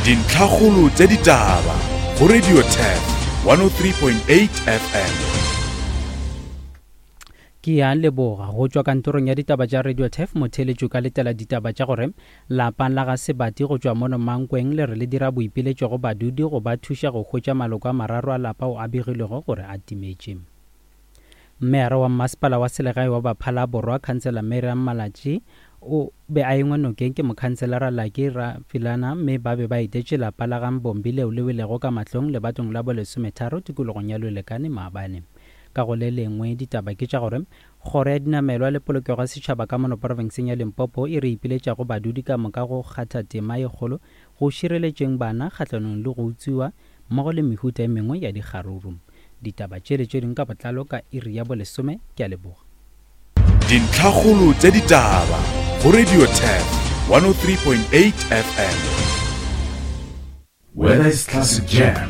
Dintlhakgolo tša ditaba go Radio Turf 103.8 FM. Ke a leboga. Go tšwa kantorong ya ditaba tša Radio Turf, motheeletši o ka letela ditaba tša gore lapa la ga Sebati go tšwa mono Mankweng le re le dira boipiletšo go badudi go ba thuša go hwetša maloko a mararo a lapa ao a begilwego gore a timetše. Meyara wa Mmasepala wa Selegae wa Baphala Borwa, Khansela Miriam Malatji, o be a engwe nokeng ke mokhanselara Lucky Rafilana mme ba be ba etetše lapa la ga Mbombi leo le welego ka mahlong lebatong la bolesometharo tikologong ya Lwelekane maabane. Ka go le lengwe ditaba ke tša gore Kgoro ya Dinamelwa le Polokego ya Setšhaba ka mono profenseng ya Limpopo e re ipiletša go badudi ka moka go kgatha tema ye kgolo go šireletšeng bana kgahlanong le go utswiwa mmogo le mehuta e mengwe ya dikgaruru. Ditaba tše le tše dingwe ka botlalo ka iri ya bolesome. Ke a leboga. Dintlhakgolo tša ditaba go Radio Turf 103.8 FM. Whether it's classic jam,